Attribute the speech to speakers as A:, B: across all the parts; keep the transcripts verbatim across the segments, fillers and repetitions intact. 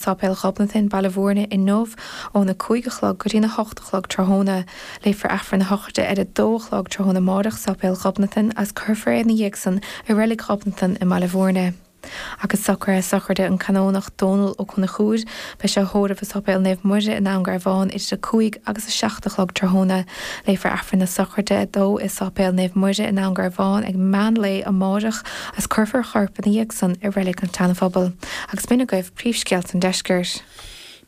A: Sáipéal Ghobnatan, Baile Bhúirne inniu óna cúig a chlog go dtí a hocht a chlog tráthnóna. Léifear Aifreann na sochraide ar a dó a chlog tráthnóna amárach Sáipéal Ghobnatan agus cuirfear é ina dhiaidh san i Reilig Ghobnatan i mBaile Bhúirne. Agus socruithe sochraide an Canónach Dónal Ó Conchúir, beidh sé á thórramh i Sáipéal Naomh Muire i nDún Garbhán idir a cúig agus a seacht a chlog tráthnóna. Léifear Aifreann na sochraide dó i Sáipéal Naomh Muire i nDún Garbhán ag meán lae amárach agus cuirfear a chorp ina dhiaidh san i Reilig an tSeanphobail. Agus b'in agaibh príomhscéalta an deiscirt.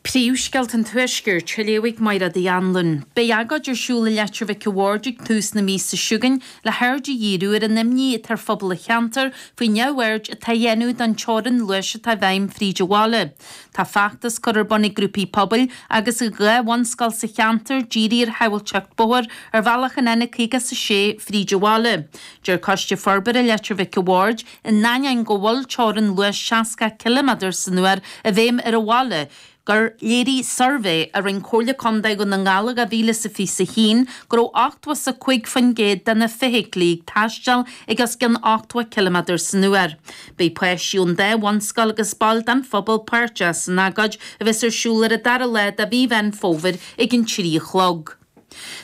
B: Príomhscéalta an Tuaiscirt, á léamh ag Máire Uí Anluain. Beidh agóid ar siúl i Leitir Mhic a' Bhaird ag tús na míosa seo chugainn le haird a dhíriú ar an imní atá ar phobal an cheantair faoi neamhaird atá á dhéanamh don teorainn luais atá i bhfeidhm fríd an bhaile. Tá feachtas curtha ar bun ag grúpaí pobail agus ag dhá bhunscoil sa cheantar dírithe ar shábháilteacht bóthair ar bhealach an N caoga is a sé fríd an bhaile. Deir Coiste Forbartha Leitir Mhic a' Bhaird, in ainneoin go bhfuil teorainn luais seasca ciliméadar san uair i bhfeidhm ar an bhaile, gur léirigh suirbhé a rinne Comhairle Contae Dhún na nGall i dhá mhíle is a fiche a haon go raibh ochtó is a cúig faoin gcéad de na feithiclí ag taisteal ag os cionn ochtó ciliméadar san uair. Beidh páistí ón dá bhunscoil agus baill den phobal páirteach san agóid a bheas ar siúl ar an dara lá de mhí Mheán Fómhair ag an trí a chlog.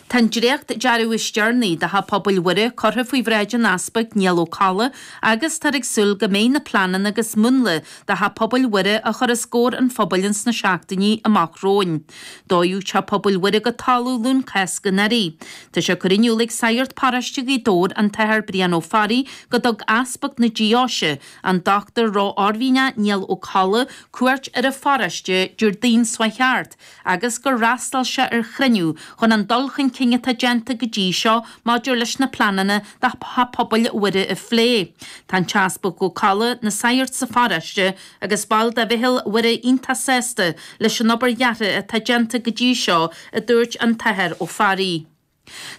B: Tá an dréacht-dearadh is deireanaí do Theach Pobail Mhuire curtha faoi bhráid an Easpaig Niall Ó Colla agus táthar ag súil go mbeidh na pleananna agus múnla do Theach Pobail Mhuire á chur os comhair an phobail ins na seachtainí amach romhainn. Dódh Teach Pobail Mhuire go talamh Luan Cásca anuraidh. Tá sé curtha in iúl ag Sagart Paróiste Ghaoth Dobhair, an tAthair Brian Ó Fearraigh, go dtug Easpag na Deoise, an Dochtúir Ró-Oirmhinneach Niall Ó Colla, cuairt ar an pharóiste Déardaoin seo chuaigh thart agus gur fhreastail sé ar chruinniú chun an dul chun cinn atá déanta go dtí seo maidir leis na pleananna do Theach Pobail Mhuire a phlé. Tá an tEaspag Ó Colla, na sagairt sa pharóiste agus baill de Mheitheal Mhuire iontach sásta leis an obair dheartha atá déanta go dtí seo, a dúirt an tAthair Ó Fearraigh.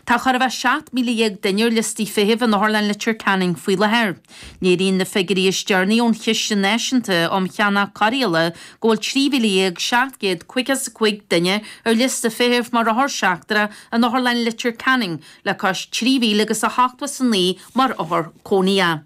B: Tá chóir a bheith seacht míle dhéag duine ar liostaí feithimh in Otharlann Leitir Ceanainn faoi láthair. Léiríonn na figiúirí is deireanaí ón Chiste Náisiúnta um Cheannach Cóireála go bhfuil trí mhíle dhéag seacht gcéad caoga is a cúig duine ar liosta feithimh mar othar seachtrach in Otharlann Leitir Ceanainn, le cois trí mhíle agus a hochtó is a naoi mar othar cónaitheach.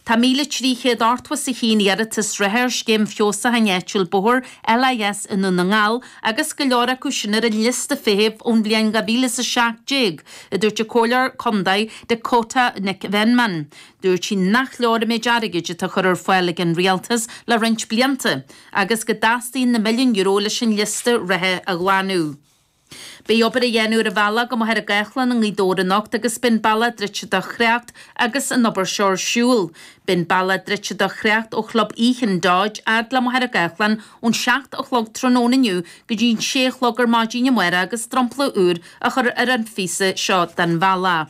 B: Tá míle trí chéad ochtó is a haon iarratas reatha ar Scéim Feabhsúcháin Áitiúil Bóthair, LIS, i nDún na nGall agus go leor acu sin ar an liosta feithimh ón bhliain dhá mhíle is a seacht déag, a dúirt an Comhairleoir Contae Dakota Nic Mheanman. Dúirt sí nach leor an méid airgid atá curtha ar fáil ag an Rialtas le roinnt blianta agus go dteastaíonn na milliúin euro leis an liosta reatha a ghlanadh. Beidh obair á dhéanamh ar an bhealach go Machaire Gathlán i nGaoth Dobhair anocht agus beidh an bealach druidte do thrácht agus an obair seo ar siúl. Beidh an bealach druidte do thrácht ó Chlub Ethan Dodge fhad le Machaire Gathlán ón seacht a chlog tráthnóna inniu go dtí an sé a chlog ar maidin amárach agus dromchla úr á chur ar an phíosa seo den bhealach.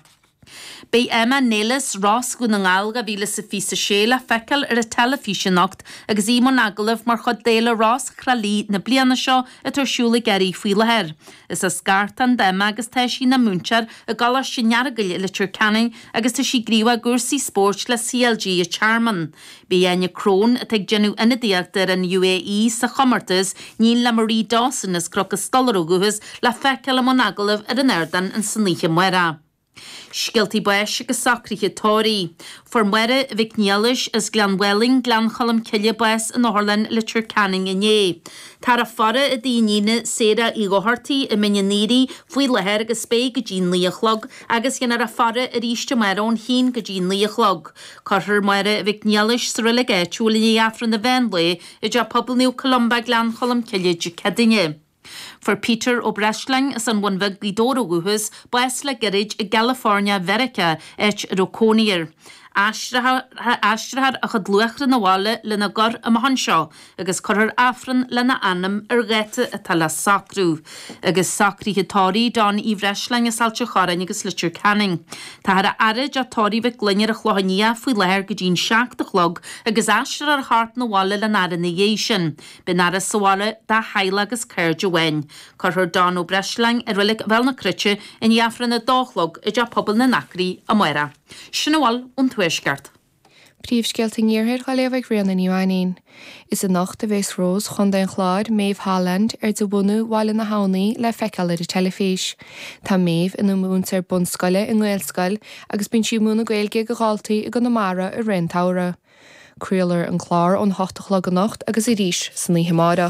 B: Beidh Emma Nelis, Rás Dhún na nGall dhá mhíle is a fiche a sé, le feiceáil ar an teilifís anocht agus í i mbun agallaimh mar chuid d'Fhéile Rás Thrá Lí na bliana seo atá ar siúl i gCiarraí faoi láthair. Is as Gartán d'Emma agus tá sí ina múinteoir i gColáiste an Earagail i Leitir Ceanainn agus tá sí gníomhach i gcúrsaí spóirt le C L G an Tearmann. Beidh Áine Crone, atá ag déanamh ionadaíochta ar an U A E sa chomórtas, iníon le Marie Dawson as Cnoc an Stolaire ó dhúchas, le feiceáil i mbun agallaimh ar an ardán insan oíche amárach. Scéaltaí báis agus socruithe tórraimh. Fuair Máire Mhic Niallais as Gleann Mhálainn, Gleann Cholm Cille bás in Otharlann Leitir Ceanainn inné. Táthar á faire i dtigh a iníne Sarah Uí Dhochartaigh i Mín an Aoraigh faoi láthair agus beidh go dtí naoi a chlog agus dhéanfar a faire arís amárach ón haon go dtí naoi a chlog. Cuirfear Máire Mhic Niallais sa reilig áitiúil i ndiaidh Aifreann an mheán lae i dTeach Pobail Naomh Columba, Gleann Cholm Cille Dé Céadaoine. Fuair Peter Ó Breisleáin as an Bhun Bheag, Gaoth Dobhair ó dhúchas, bás le gairid i gCalifornia Mheiriceá, áit a raibh cónaí air. Aistreofar a chuid luachra 'na bhaile lena gcur amach anseo agus cuirfear Aifreann lena anam ar dháta atá le socrú. Agus socruithe tórraimh Don Uí Bhreisleáin as Ailt an Chorráin agus Leitir Ceanainn. Táthar á fhaire i dteach tórraimh Mhic Gloinn ar an Chlochán Liath faoi láthair go dtí an seacht a chlog agus aistreofar a chorp 'na bhaile lena fhaire ina dhiaidh sin. Beidh an fhaire sa bhaile dá theaghlach agus cairde amháin. Cuirfear Don Ó Breisleáin i Reilig Bhéal na Cruite i ndiaidh Aifreann a dó a chlog i dTeach Pobail na nAcraí amárach. Sin a bhfuil ón Tuaisceart.
A: Príomhscéalta an Iarthair á léamh ag Ríona Ní Mhainín. Is anocht a bheas Rós Chontae an Chláir, Maeve Holland, ar de bhunadh Bhaile na hAbhnaí, le feiceáil ar an teilifís. Tá Maeve ina múinteoir bunscoile i nGaelscoil agus bíonn sí ag múineadh Gaeilge do dhaltaí i gConamara i rith an tsamhraidh.
C: Craolfar an clár ón hocht a chlog anocht agus arís san oíche amárach.